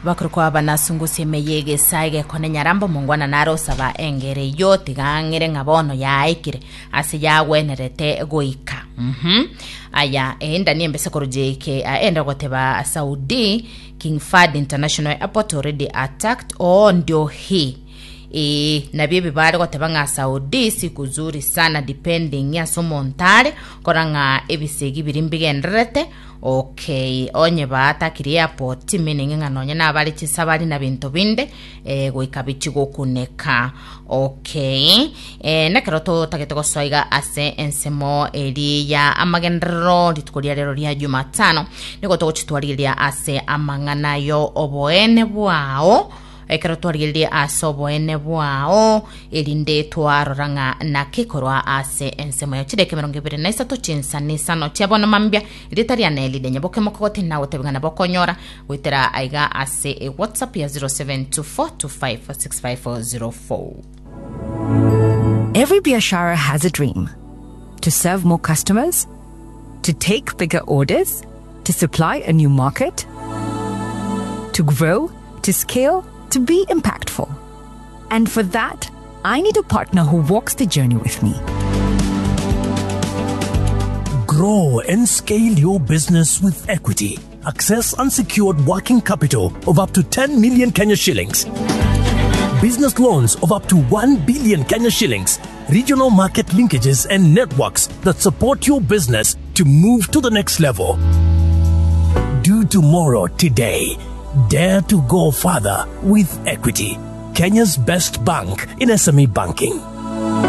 Bakorokwa abanasungusia ime y'egesae egekone nyarambo omongwana nare osaba engero eyio tiga ang'ire ng'a bono yaikire ase yagwenerete goika. Mhm. Aya enda niembese korwa JK aende goteba Saudi King Fahd International Airport already attacked oo ndio hii Ee, nabio ebi bare goteba ng'a Saudi siku zuri sana depending ase omonto are kora ng'a ebisegi biria mbigendererete okay onye baatakire airport meaning ng'a nonye nabare chisabari na binto binde eh, goika bichi gokuneka okay eh, nekero totagete gosoa iga ase ensemo eri ya amagenderero rituko ria rero ria Jumatano nigo togochitwarigeria ase amang'ana yo oboene bwao Ekero twarigereire ase oboene bwao, erinde twarora ng'a naki korwa ase ensemo ya chideka 23 chinsana isano chia bono mambia, erieta riane ride nyaboke mokogoti nagotebia ng'a nabo okonyora goetera aiga ase e WhatsApp ya 0724256504. Every biashara has a dream to serve more customers, to take bigger orders, to supply a new market, to grow, to scale, to be impactful. And for that, I need a partner who walks the journey with me. Grow and scale your business with equity. Access unsecured working capital of up to 10 million Kenya shillings. Business loans of up to 1 billion Kenya shillings. Regional market linkages and networks that support your business to move to the next level. Do tomorrow today. Dare to go further with Equity, Kenya's best bank in SME banking.